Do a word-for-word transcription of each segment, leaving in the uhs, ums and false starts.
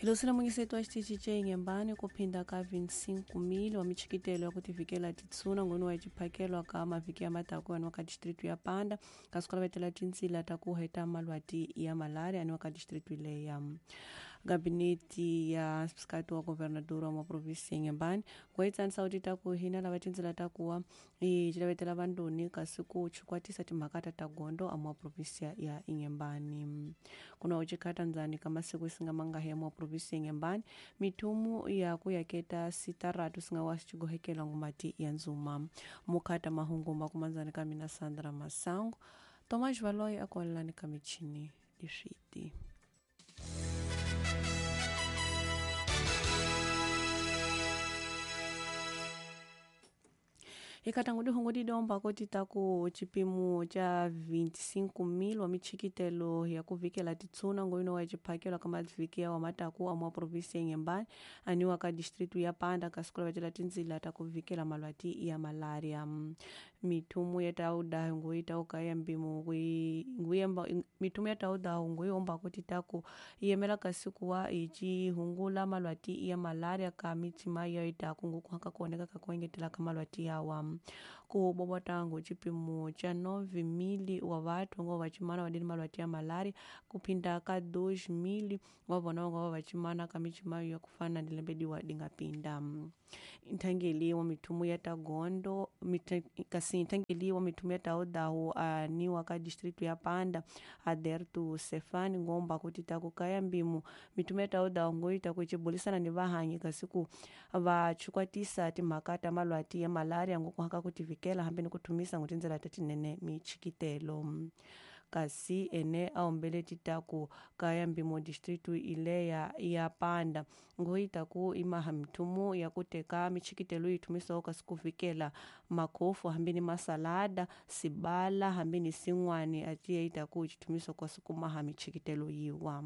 Hilosile mungiseto wa xitichi ce Inhembane ku phinda ka vinte e cinco mil wa michikitelo ya ku tivikela titsuna ngoni wa xiphakelwa ka mavhiki ya mataku ya ka distritu ya Panda kasi ku lavetela tintsila ta ku heta malwati ya malaria ni wa ka distritu leya. Gabinete ya msikati wa governador wa provinsi ya Inhembane ku itsanisa ku tita ku hina lava tintsila ta kuwa i lavetela vandoni kasi ku chukwatisa timhaka ta ta gondo a mwa provinsi ya Inhembane. Kuna uchikhata ndzani ka masiku singa mangahi ya mwa provinsi ya Inhembane mithumu ya ku yaketa sitaratu singa wa xigohekela ngumati ya nzuma. Mukhata mahungu makumandzani ka mina Sandra Masango Tomas Valoy akwalani ka michini leswiti. Ikatangu dihungu didomba koti taku chipimo cha vinte e cinco mil wa michikitelo ya kuvikela titsuna ngoino wa chiphakelo ka mavikia wa mataku a mwa provinsi ya Inhembane aniwa ka distritu ya Panda kasi ku lavetela tindzila ta kuvikela malwati ya malaria. Mithumu ya tauda ngui tauka ya mbimu ngui nguyemba mithumu ya tauda ngui omba koti taku yemela kasi kuwa ichi hungula malwati ya malaria ka mitima ya itaku nguku haka kuoneka ka kuengetela ka malwati yawa. Ku bobotango chipimo cha nove mil wa vathu ngo vachimana vadini malwati ya malaria kuphinda ka dois mil wa vona ngo vachimana ka michima ya kufana ni lembe diwa dingapinda. Nthangeli wa mithumu ya tagondo kasi nthangeli wa mithumu ya taudawu aniwa ka distritu ya Panda Aderto Sefani ngomba kuti taku kaya mbimu mithumu ya taudawu ngoita kuchibulisana ni vahanyi kasi ku vachukwatisa timhaka ta malwati ya malaria ngo kuhaka kutivikela hambi ni kuthumisa ngutindzela ta tinene michikitelo. Kasi ene aombele titaku kaya mbimo distritu ileya ya Panda ngoita ku imaha mithumu ya kuteka michikitelo yithumisawo kasi kuvikela makhofu hambi ni masalada sibala hambi ni sin'wani atiye itaku chithumiso kasi kumaha michikitelo yiwa.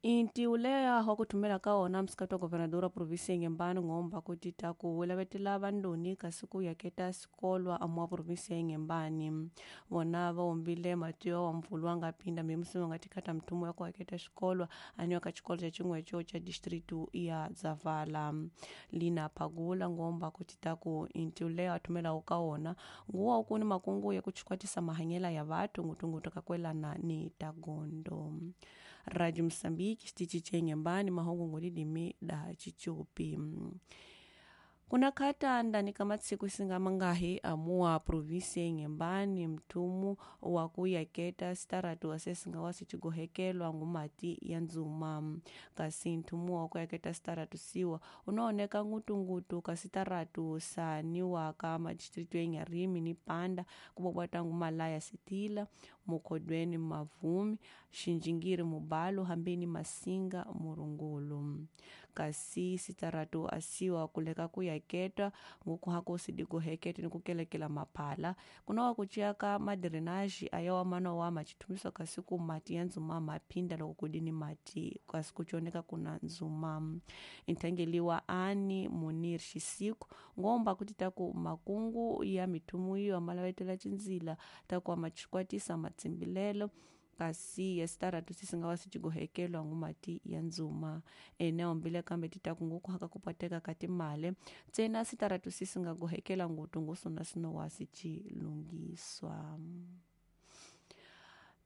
Inti uleya wa kuthumela ka wona msikati wa governador wa provinsi ya Inhembane ngomba kuti taku lavetela vandoni kasi ku yaketa sikolwa amwa provinsi ya Inhembane. Vona va ombile matiyo wa mpfulu wa nga pinda mimusi wa nga tikhata mthumu ya ku yaketa xikolwa aniwa ka xikolo xa xin'wecho xa distritu ya Zavala. Lina Phagula ngomba kuti taku inti uleya wa thumelaku ka wona nguwa wu kuni makungu ya ku chikwatisa mahanyela ya vathu ngutungutu ka kwelana ni tagondo. Radio Msambiki xitichi che Inhembane mahungu ngolilimi da chichupi. Kuna khata ndani ka matsiku singa mangahi amua provinsi ya Inhembane mthumu wa ku yaketa sitaratu wa sesinga wa sichigohekelwa ngumati ya nzuma. Kasi nthumu wa ku yaketa sitaratu siwa unaoneka ngutungutu ka sitaratu saniwa ka madistritu ya Inharime ni Panda kubobwata ngumalaya Sitila Mukhodweni Mavumi Xinjingiri Mubalo hambi ni Masinga Murungulu. Kasi sitaratu asiwa kuleka ku yaketwa nguku hako sidiguhekete ni kukelekela maphala kuna wa kuchiaka madrenaji ayawa mana wa machithumiso kasi ku mati ya nzuma maphinda loko kudini mati kasi kuchoneka kuna nzuma. Nthangeliwa ani Munir Xisiku ngomba kuti taku makungu ya mithumu iyo amalavetela tindzila taku amachikwatisa matsimbilelo kasi ya sitaratu sisinga wa sichigohekelwa ngumati ya nzuma. Ene ombile kambe titaku nguku haka kupateka kati male tsena sitaratu sisinga gohekela ngutu ngusona sino wa sichilungiswa.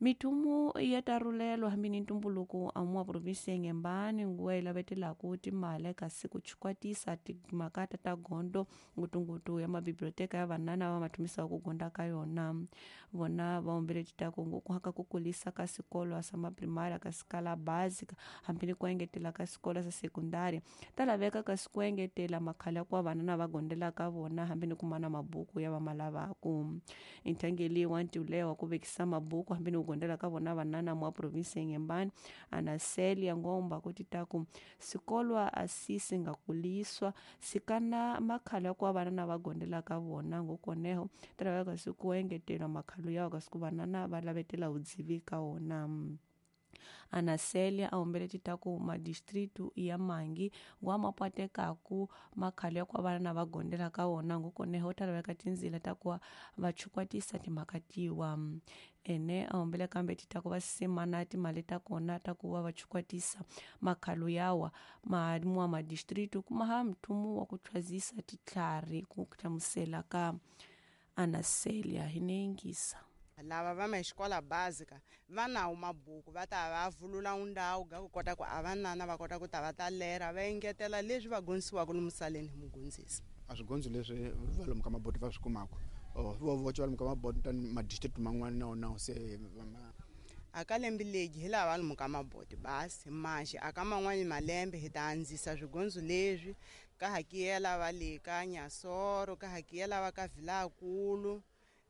Mithumu ya tarulelo hambi ni ntumbuluko amua provinsi ya Inhembane nguwa ilavetelaku timale kasi kuchikwatisa timhaka ta gondo ngutungutu ya mabiblioteka ya vanana va mathumisaku ku gonda ka yona. Vona va ombele titaku nguku haka ku kulisa ka sikolo sa maprimária ka sikala básica hambi ni ku engetela ka sikolo sa sekundari ta laveka kasi ku engetela makhala ya ku vanana va gondelaka vona hambi ni kumana mabuku ya va ma lavaku. Nthangeli wa ntiulewa wa ku vekisa mabuku hambi ni kugondela ka vona vanana mwa provinsi ya Inhembane Anaselia ngomba kuti taku sikolwa asisi nga kuliswa sikana makhala ya ku vanana va gondela ka vona ngokoneho ta laveka kasi ku engetela makhalo yawo kasi ku vanana va lavetela vudzivi ka wona. Anacelia a humbele titaku madistritu ya mangi wa mapatekaku makhalo ya ku va vana va gondela ka wona ngukoneho ta laveka tindzila ta ku va chukwatisa timhaka tiwa. Ene a humbele kambe titaku va simana timali ta kona ta ku va va chukwatisa makhalo yawa ma madistritu kumaha mthumu wa ku thwazisa titlhari ku hlamusela ka Anacelia hinengisa. Lava va ma xikola básica va nawo mabuku va ta va vulula undawu ga ku kota ku a vanana va kota ku ta va ta lera va engetela leswi va gonisiwaka lomu saleni hi mugondzisi. A swigondzo leswi va lomu ka maboti va swi kumaka vo voce va lomu ka maboti ta madistrict man'wana na wona se aka lembe legi hi lava lomu ka maboti basi manje aka man'wani malembe hi ta andzisa swigondzo leswi ka hakiyela va le ka Nyasoro ka hakiyela va ka Vilakulu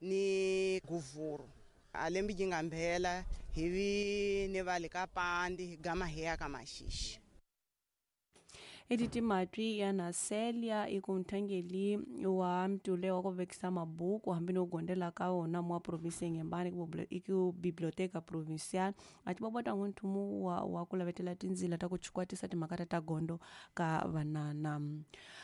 ni Guvuru a lembe yi nga mbhela hi vi ni va le ka Pandi hi gama hi ya ka Maxixi. Editi matwi ya Nacelia ikunthangeli wa mtule wa ku vekisa mabuku hambi no gondela ka wona mwa province Inhambane iku biblioteca provincial a ti bobota nthumu wa, wa ku lavetela tindzila ta ku chukwatisa timhaka ta gondo ka vanana.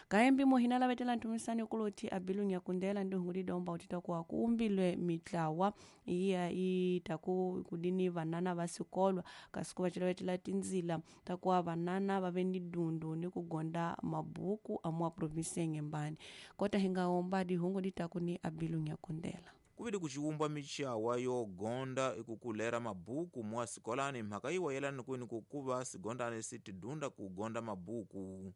Kaembi mo hina lavetela nthumisani kuloti a bilunya kundela ndi hunguli domba utita ku kumbilwe mitlawa iya ita ku kudini vanana va sikolwa kasi ku va lavetela tindzila ta ku vanana va ve ni dundu ni ku gonda mabuku amwa province Inhambane. Kota hinga omba dihungu ditaku ni abilunya kundela. Kuvili kuchiwumbwa michawa yo gonda ikukulera mabuku mwa sikolani mhaka iwa yelani kwini kukuva sigondane sitidunda kugonda mabuku.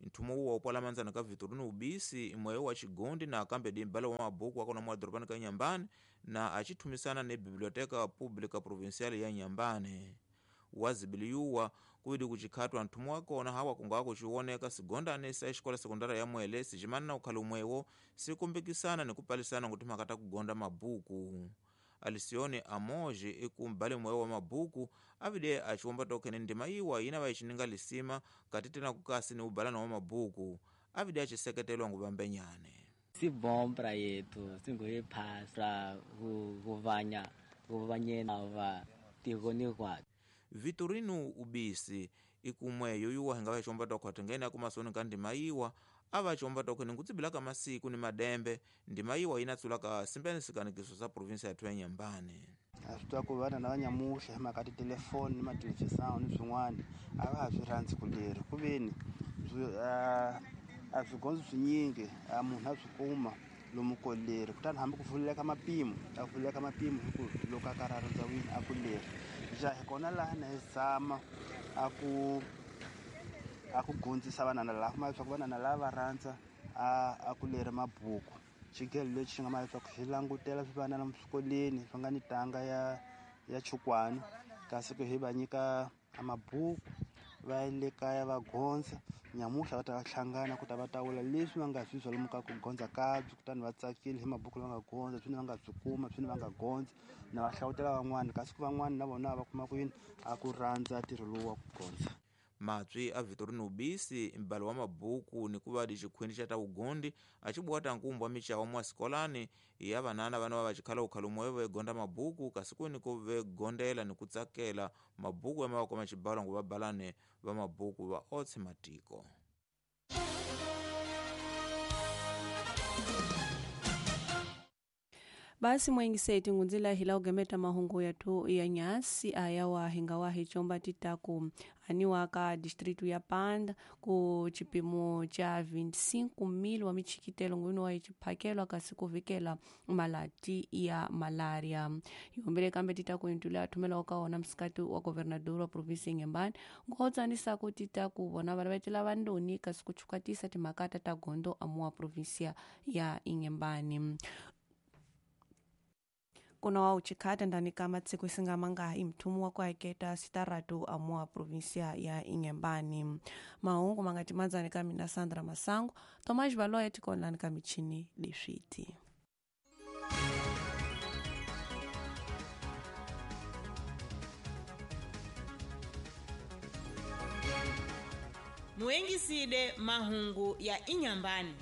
Nthumo uwa upwala manzana ka Vitorino Ubisi imweyo wa chigondi na akambe dimbala wa mabuku akona mwa doropani ka Inhambane na achithumisana ni Biblioteca Pública Provincial ya Inhambane. Wazibiliyuwa kuidi kuchikhatwa nthumu wakona hawa kunga kuchiwoneka sigondane sa xikola sekondari ya Mwele sicimana na ukhala umwewo sikumbikisana ni kupalisana kuti mhaka ta kugonda mabuku. Alisione Amoje ikumbale mwewo wa mabuku avide achiwomba tokene ndima iwa yina vayichininga lisima kati tena kukasi ni ubalana wa mabuku avide achiseketelwa nguvambenyane. Si bom pra yetu singoyiphasa kuvanya kuvanyena va tikoni kwa Vitorino Ubisi ikumweyo yuwa hinga vachiwomba tokhwatha ngene akumasoni ka ndima iwa avachiwomba tokhene nkutsibilaka masiku ni madembe ndima iwa yinatsulaka simbene sikanikiso sa provinsia yathu ya Inhambane. A swi twa ku vana na vanyamuhla hi mhaka titelefoni ni mathelevhizani ni swin'wana a va ha swi rhandzi ku leri ku veni a swigondzo swinyingi a munhu a swi kuma lomu ko leri kutani hambi ku vuleka mapimo a vuleka mapimo hi ku loko a karhi a rhandza wini a ku leri ja hi kona laha na hi zama a ku a ku gondzisa vanana laha kuma leswaku vanana lava va rhandza a a ku leri mabuku xigelo lexi xi nga ma leswaku xi langutela swivanana swikolweni swi nga ni tanga ya ya chukwani kasi ku hi va nyika mabuku va ya le kaya va gondza nyamuhla va ta va hlangana ku ta va tawula leswi va nga swi zwa lomu ka ku gondza kabyi kutani va tsakile hi mabuku lama nga gondza swini va nga swi kuma swini va nga gondza na va hlawutela van'wana kasi ku van'wana na vona va kuma ku yini a ku rhandza ntirho lowu wa ku gondza. Matswi a Vitorino Ubisi mbalo wa mabuku ni kuva di xikhwini xa ta ugondi acibuwata nkumbu wa michawa mwa sikolani ya vanana vana va vachikhala ukhala umweyo vegonda mabuku kasi kwini ku vegondela ni kutsakela mabuku ya mavako machibalwa ngu vabalane va mabuku va otse matiko. Basi mwengiseti ngunzila hila ugemeta mahungu yatu ya nyasi aya wa hingawa hichomba titaku aniwa ka distritu ya Panda ku chipimo cha vinte e cinco mil wa michikitelo ngwino wa ichiphakelwa kasi kuvikela malati ya malaria. Yombele kambe titaku intula athumela okaona msikati wa governador wa provinsi Inhambane ngotsanisa ku titaku vona valavetela vandoni kasi kuchukatisa timakata ta gondo amuwa provinsia ya Inhambane. Kuna wa uchikhata ndani kama tsiku isingamanga imthumu wa kuaketa sitaratu amua provinsia ya Inhambane. Mahungu mangatimanzani ka mina Sandra Masango, Tomás Valoia tikonlani ka michini leswiti. Muengiside mahungu ya Inhambane.